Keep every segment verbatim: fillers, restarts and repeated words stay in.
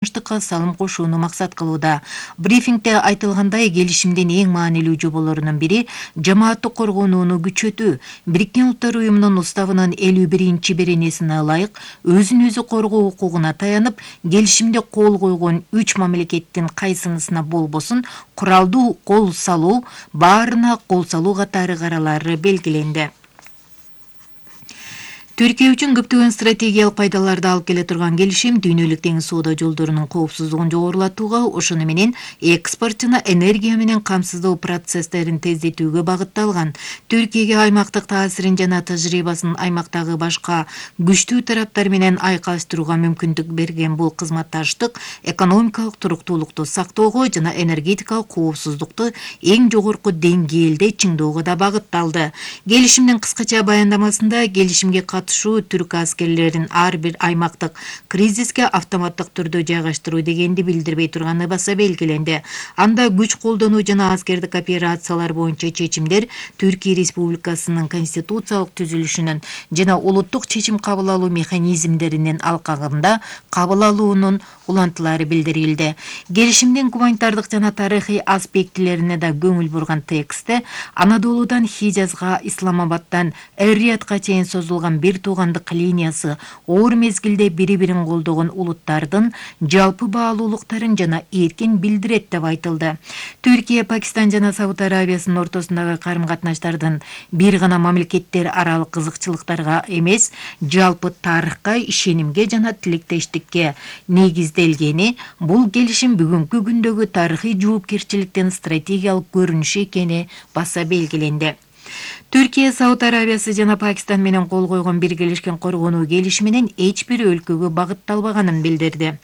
тынчтыкка салым кошууну максат кылууда. Брифингде айтылгандай, келишимдин эң маанилүү жоболорунун бири жамааттык коргонууну күчөтүү. Бириккен Улуттар уюмунун уставынын элүү биринчи беренесине ылайык өзүн өзү коргоо укугуна таянып, келишимде кол койгон үч мамлекеттин кайсынысына болбосун куралдуу кол салуу, баарына кол салуу катары каралары белгиленди. Түркия үчүн көптөгөн стратегиялык пайдаларды алып келе турган келишим дүйнөлүк деңиз соода жолдорунун коопсуздугун жогорулатууга, ошону менен экспорт жана энергия менен камсыздоо процесстерин тездетүүгө багытталган. Түркияга аймактык таасирин жана тажрыйбасын аймактагы башка күчтүү тараптар менен айкалыштырууга мүмкүндүк берген бул кызматташтык экономикалык туруктуулукту сактоого жана энергетикалык коопсуздукту эң жогорку деңгээлде чыңдоого да багытталды. Келишимдин кыскача баяндамасында келишимге түрк аскерлерин ар бир аймактык кризиске автоматтык түрдө жайгаштыруу дегенди билдирбей турганы баса белгиленди. Анда күч колдонуу жана аскердик операциялар боюнча чечимдер Түркия Республикасынын конституциялык түзүлүшүнүн жана улуттук чечим кабыл алуу механизмдеринин алкагында кабыл алуунун улантылары билдирилди. Келишимдин гуманитардык жана тарыхый аспектилерине да көңүл бурган текстте Анадолудан Хижазга, Исламабадтан Эр-Риядга чейин созулган бир туугандык линиясы оор мезгилде бири-бирин колдогон улуттардын жалпы баалуулуктарын жана эркин билдирет деп айтылды. Түркия, Пакистан жана Сауд Арабиясынын ортосундагы карым-катнаштардын бир гана мамлекеттер аралык кызыкчылыктарга эмес, жалпы тарыхка, ишенимге жана тилектештикке негизделгени, бул келишим бүгүнкү күндөгү тарыхый жоопкерчиликтин стратегиялык көрүнүшү экени баса белгиленди. Түркия, Сауд Арабиясы жана Пакистан менен кол койгон биргелешкен коргонуу келишиминин эч бир өлкөгө багытталбаганын билдирди.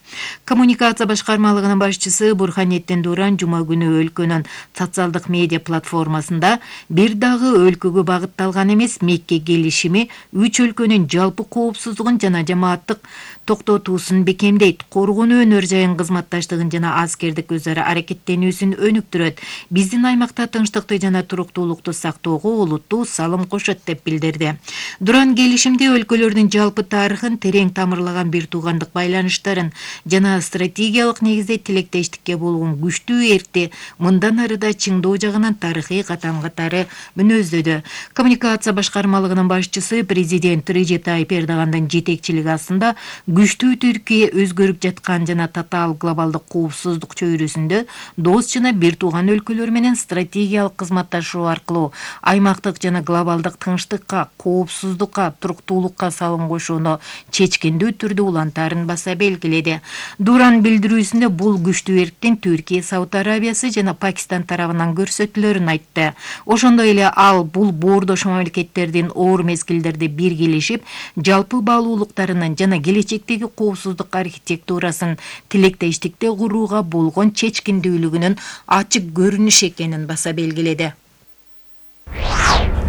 Коммуникация башкармалыгынын башчысы Бурханеттин Дуран жума күнү өлкөнүн социалдык медиа платформасында бир дагы өлкөгө багытталган эмес, Мекке келишими үч өлкөнүн жалпы коопсуздугун жана жамааттык токтотуусун бекемдейт, коргонуу өнөр жайын кызматташтыгын жана аскердик өз ара аракеттенүүсүн өнүктүрөт. Биздин аймакта тынчтыкты жана туруктуулукту сактоого олуттуу салым кошот деп билдирди. Дуран келишимде өлкөлөрдүн жалпы тарыхын, терең тамырлаган бир туугандык байланыштарын жана стратегиялык негизде тилектештикке болгон күчтүү эркти мындан ары да чыңдоо жагынан тарыхый катам катары мүнөздөдү. Коммуникация башкармалыгынын башчысы президент Режеп Тайип Эрдогандын жетекчилиги астында күчтүү Түркия өзгөрүп жаткан жана татаал глобалдык коопсуздук чөйрөсүндө дос жана бир тууган өлкөлөр менен стратегиялык кызматташуу аркылуу аймактык жана глобалдык тынчтыкка, коопсуздукка, туруктуулукка салым кошууну чечкиндүү түрдө улантарын баса белгиледи. Дуран билдирүүсүндө бул күчтүү эрктин Түркия, Сауд Арабиясы жана Пакистан тарабынан көрсөтүлөрүн айтты. Ошондой эле ал бул боордош мамлекеттердин оор мезгилдерде биргелешип, жалпы баалуулуктарынын жана келечектеги коопсуздук архитектурасын тилектештикте курууга болгон чечкиндүүлүгүнүн ачык көрүнүшү экенин баса белгиледи.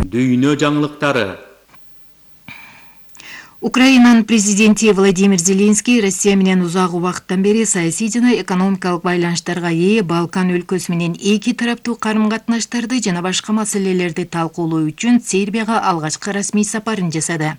Дүйнө жаңылыктары. Украинанын президенти Владимир Зеленский Россия менен узак убакыттан бери саясий жана экономикалык байланыштарга ээ Балкан өлкөсү менен эки тараптуу карым-катнаштарды жана башка маселелерди талкуулоо үчүн Сербияга алгачкы расмий сапарын жасады.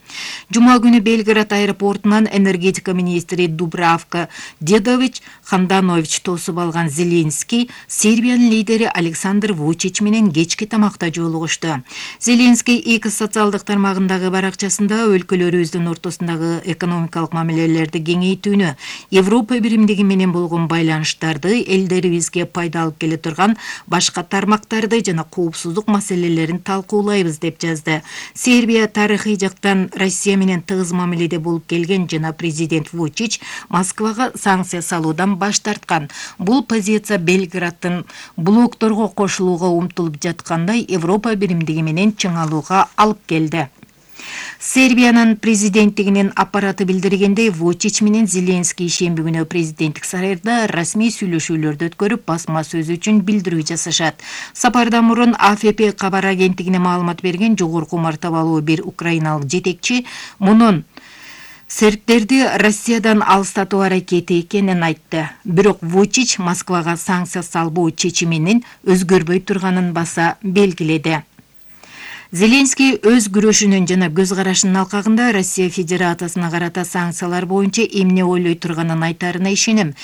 Жума күнү Белград аэропортунан энергетика министри Дубравка Дедович Ханданович тосуп алган Зеленский Сербиянын лидери Александр Вучич менен кечки тамакта жолугушту. Зеленский эки социалдык тармагындагы баракчасында өлкөлөрүбүздүн ортосундагы экономикалык мамилелерди кеңейтүүнү, Европа биримдиги менен болгон байланыштарды, элдерибизге пайда алып келе турган башка тармактарды жана коопсуздук маселелерин талкуулайбыз деп жазды. Сербия тарыхый жактан Россия менен тыгыз мамиледе болуп келген жана президент Вучич Москвага санкция салуудан баш тарткан. Бул позиция Белграддын блокторго кошулууга умтулуп жаткандай Европа биримдиги менен чыңалууга алып келди. Сербиянын президенттигинин аппараты билдиргендей, Вучич менен Зеленский шемби күнү президенттик сарайда расмий сүйлөшүүлөрдү өткөрүп, басма сөз үчүн билдирүү жасашат. Сапардан мурун А Ф П кабар агенттигине маалымат берген жогорку мартабалуу бир украиналык жетекчи мунун сербтерди Россиядан алыстатуу аракети экенин айтты. Бирок Вучич Москвага санкция салбоо чечиминин өзгөрбөй турганын баса белгиледи. Зеленский өз күрөшүнүн жана көз карашынын алкагында Россия Федерациясына карата санкциялар боюнча эмне ойлой турганын айтаарына ишенем.